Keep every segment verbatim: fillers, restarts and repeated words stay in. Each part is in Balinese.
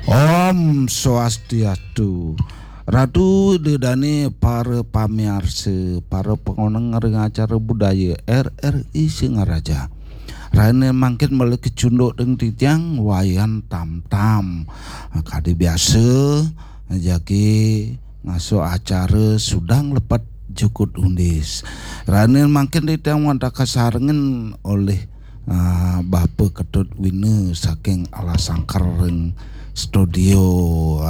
Om Swastiastu. Ratu Ida Dane, para pamiarsa, para pangoneng ring acara budaya R R I Singaraja. Rahina mangkin malih kacunduk ring titiang Wayan Tamtam. Kadi biasa, jagi ngaso acara Sudang Lepet Jukut Undis. Rahina mangkin titiang wantah kasarengin olih ah, Bapa Ketut Wina saking Alas Sangker ring studio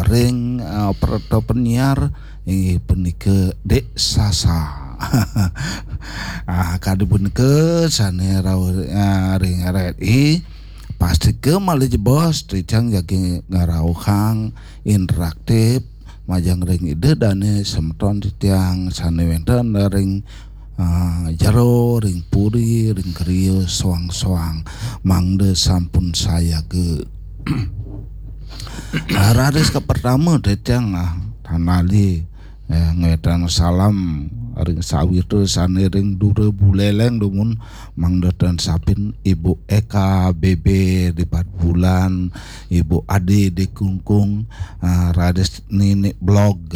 ring, ah, operator penyiar inggih punika Dek Sasa. Ah, kadi punika sane rauh, ah, ring R R I, pastika malih jebos titiang jagi ngrauhang interaktif majeng ring Ida Dane semeton titiang sane wenten ring, ah, jero, ring puri, ring griya soang-soang, mangda sampun sayaga. Ah, raris kapertama titiang, ah, tan lali, eh, ngwetan salam ring sawitra sane ring dura buleleng dumun, mangda tan sapin Ibu Eka B B di Batubulan, Ibu Ade di Klungkung, ah, raris Nini Blog,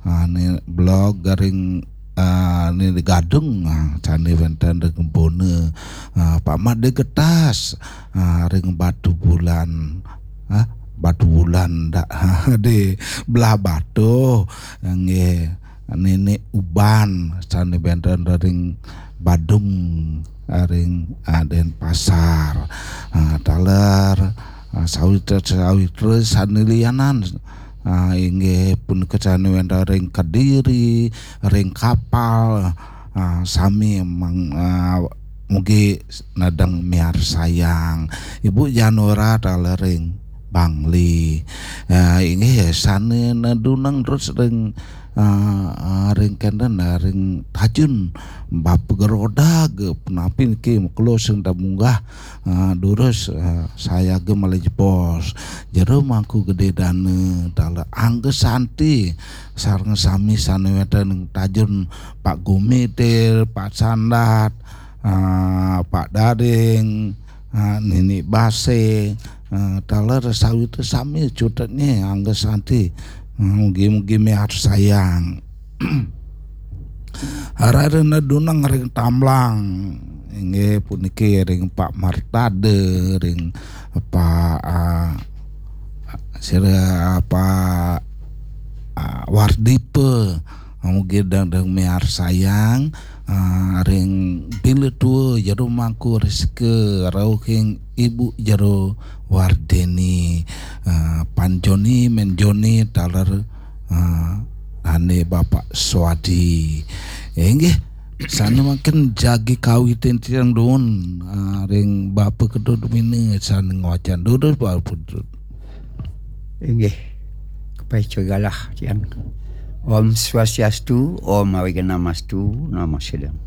ah, Nini Blog ring, ah, Nini Gadung, ah, sane wenten ring Bona, ah, Pak Made Getas, ah, ring Batubulan, ah, Batubulan dak di Blahbatuh, nggih. Nini Uban sane wenten ring Badung, ring, ah, Denpasar. Ah, taler, ah, sawitra-sawitra sane lianan, ah, inggih punika sane wenten ring Kediri, ring Kapal, ah, sami mang-, ah, mugi nedeng miarsayang. Ibu Janora taler ring Bangli. Ah, inggih sane nedunang terus ring, ah, ah, ring kenten, ah, ring Tajun, Bapa Gerodag, punapi niki makelo sing ta munggah, ah, durus, ah, sayaga malih jebos. Jero Mangku Gede Dana, taler Angga Santi, sareng sami sane wenten ring Tajun, Pak Gumitir, Pak Sandat, ah, Pak Daring, ah, Nini Base, ah, taler sawitra sami cutetnye Angga Santi. Ah, mugi-mugi miarsayang. Rahina duneng ring Tamlang, inggih puniki ring Pak Martade, ring Pak, ah, sira Pak, ah, Wardipa, mugi dang, dang miarsayang, ah, ring Bila Tua Jero Mangku Reska, rauhing Ibu Jero Wardeni, ah, Pan Joni, Men Joni, taler, ah, dane Bapak Swadi. Inggih, sane mangkin jagi kawitin tiang dumun, ah, ring Bapa Ketut Wina sane ngwacen. Durus Bapa Ketut. Inggih. Kepaica galah tiang. Om Swastiastu, Om Awighnamastu, Namo Siddham.